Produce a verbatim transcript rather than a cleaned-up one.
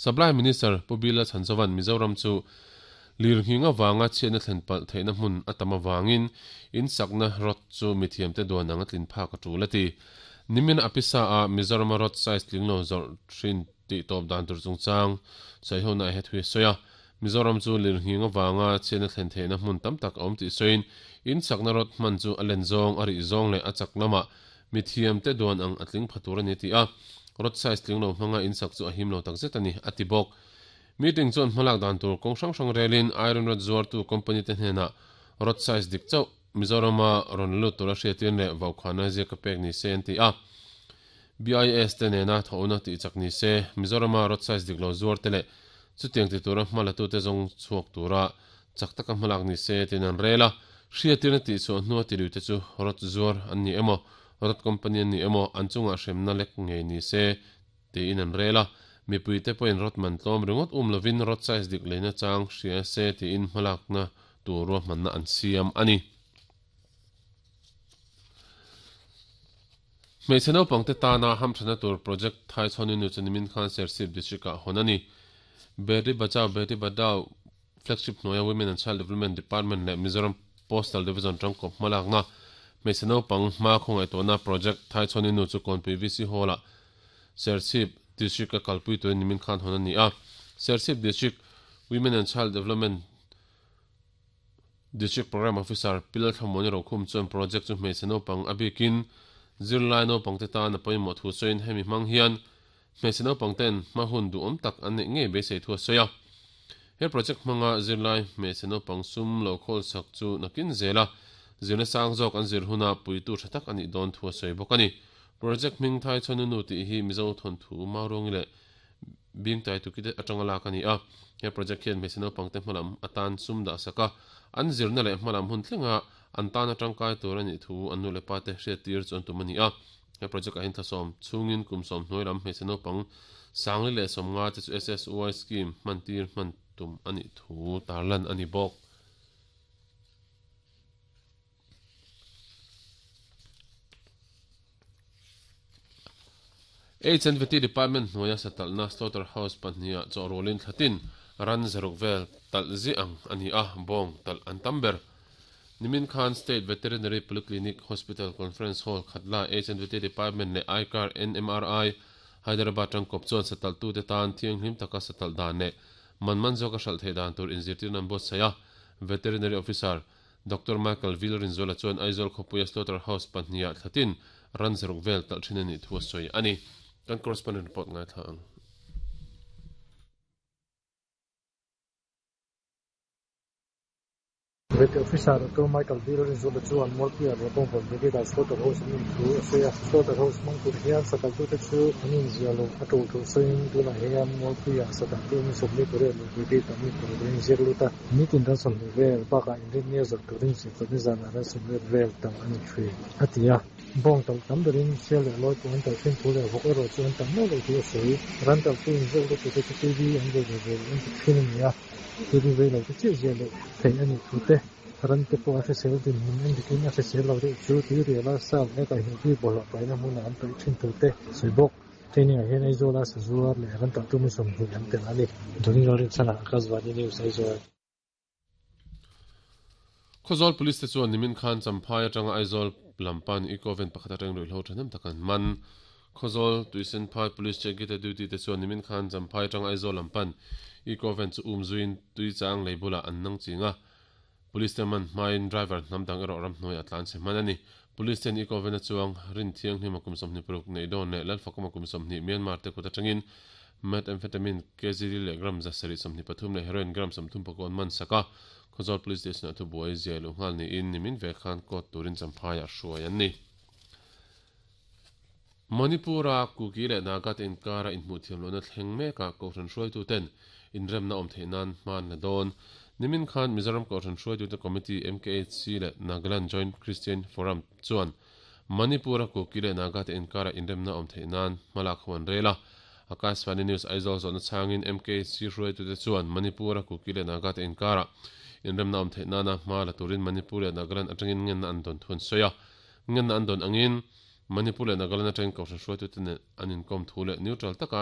Supply Minister Pu B Lalchhanzova'n Mizoram chu lirnghing avanga chhiatna thlen palh theihna hmun a tam avangin in sakna rod chu mithiamte duan ang a tlin phak a tul a ti. Nimin a pisa a Mizorama rod size tling lo zawrh thin tih tawp dan tur chungchang saihona a he thui a sawi a. Mizoram chu lirnghing avanga chhiatna thlen theihna hmun tam tak a awm tih sawiin in sakna rod hman chu a len zawng a rih zawng leh a chak lamah mithiamte duan ang a tling pha tur a ni ti a. Rod size tling lo hmanga in sak chu a him lo tak zet a ni a ti bawk. Meeting chuan hmalak dan tur kawng hrang hrang relin iron rod zuartu company te hnenah rod size dik chauh Mizorama rawn lut tura hriatin leh vaukhana ziaka pek ni se an ti a. B I S te nena thawhna tih chak ni se Mizorama rod size dik lo zuar te leh chutiang ti tura hmalatu te zawng chhuak tura chak taka hmalak ni se tin an rel a. Hriatirna tih chhuah hnua ti lui te chu rod zuar an ni emaw rod company an ni emaw an chungah hremna lek ngei ni se tiin an rel a. Mipui te pawhin rod man tlawm ringawt um lovin rod size dik leina chang hria se tiin hmalakna tur ruahmanna an siam a ni. Hmeichhe naupangte tana hamthana tur project Thai chhawnin nu chu nimin khan Serchhip district ah hawn a ni. Beti Bachao Beti Padhao flagship hnuaia Women and Child Development Department leh Mizoram Postal Division tangkawp hmalakna hmeichhe naupang hma khawngaihtuahna project Thai chhawnin nu chu Kawnpui V C Hall ah Serchhip district a kalpui turin nimin khan hawn a ni a. Serchhip district Women and Child Development District Program Officer Pi Lalthlamuani Rokhum chuan project chu hmeichhe naupang a bikin zirlai naupangte tan a pawimawh thu sawiin hemi hmang hian hmeichhe naupangten hma hun duhawm tak an neih ngei beisei thu a sawi a. He project hmanga zirlai hmeichhe naupang sum lo khawl sak chu nakin zel a, zirna sang zawk an zir huna puitu tha tak a nih dawn thu a sawi bawk a ni. Project hming Thai chhawnu nu tih hi Mizo thawnthu Mauruangi leh Bingtai tukite atanga lak a ni a. He project hian hmeichhe naupangte hmalam atan sum dah sak a, an zirna leh hmalam hun thlenga an tan atangkai tur a nih thu an nu leh pa te hriat tir chu an tum a ni a. He project ah hian thlasawm chhungin kum sawm hnuai lam hmeichhe naupang sangli leh sawmnga te chu S S Y scheme hman tir hman tum a nih thu tarlan a ni bawk. H and V T Department hnuaia satalhna slaughter house pahniha chawhrualin thlatin ran zaruk vel talh zi ang a ni a, bawng talh an tam ber. Nimin khan State Veterinary Polyclinic Hospital Conference Hall khatla H and V T Department leh I C A R N M R I Hyderabad tangkawp chuan satalhtute tan thianghlim taka satalh dan leh man man zawka hralh theih dan tur inzirtirna an buatsaih a. Veterinary Officer Doctor Michael Vilrinzuala chuan Aizawl khawpuia slaughter house pahniha thlatin ran zaruk vel talh thin a nih thu a sawi a ni. Kan correspondent report ngaithla ang. Vet Officer Doctor Michael Vilrinzuala chuan Mualpuia leh Bawngvawn Brigade ah slaughter house an in thu a sawi a. Slaughter house hmang tur hian satalhtute chu an inziah loh a tul thu sawiin tunah hian Mualpuia satalhtu mi sawmli pariat leh Brigade ah mi paruk an inziak lut a. Nitin ran sawmhnih vel bakah inrinnia zawrh turin zirtawpni zanah ran sawmriat vel tam a ni thin a ti a. Bawng talh tam berin sial leh lawi pawh an talh thin thu leh vawk erawh chu an tam meuh loh thu a sawi. Ran talhtu inziak lut tute chu T V an vei ve ve loh an ti thin a ni a. T V vei lo te chiah ziah loh theih a nih thu te. Ran te pawh a hrisel dinhmun en dikin a hrisel lo deuh chu tuirial a sal leh kaihhnawh bik bawlhhlawh paihna hmunah an paih thin thu te sawi bawk. Training ah hian Aizawl a sazuar leh ran talhtu mi sawmhnih an tel a ni. Johnny Lalrinchhana, Akashvani News, Aizawl. Khawzawl Police te chuan nimin khan Champhai atanga Aizawl lampan Eco-van pakhat atang ruihhlo thahnem tak an man. Khawzawl Tuisenphai Police check gate duty te chuan nimin khan Champhai atanga Aizawl lampan Eco-van chu um zuiin Tuichang lei bulah an nang ching a. Police te man hmain driver hnam dang erawh ramhnuai a tlan chhe hman a ni. Police ten Eco-van a chuang rin thianghlim a kum sawmhnih paruk neih dawn leh Lalfakawm a kum sawmhnih Myanmar te kut atangin methamphetamine kg li leh gram za sarih sawmhnih pathum leh heroin gram sawmthum pakua an man sak a. Khawzawl Police Station ah thubuai ziah luh nghal niin nimin ve khan court turin Champhaiah hruai an ni. Manipura Kuki leh Naga te inkara inhmuh thiam lohna thleng mekah Kohhran hruaituten inremna awm theih nan hma an la dawn. Nimin khan Mizoram Kohhran hruaitute Committee M K H C leh Nagaland Joint Christian Forum chuan Manipura Kuki leh Naga te inkara inremna awm theih nan hmalak ho an rel a. Akashvani News Aizawl zawhna changin M K H C hruaitute chuan Manipura Kuki leh Naga te inkara inremna awm theih nana hma la turin Manipur leh Nagaland atangin ngenna an dawn thu an sawi a. Ngenna an dawn angin Manipur leh Nagaland atangin Kohhran hruaitute nen an inkawm thu leh neutral taka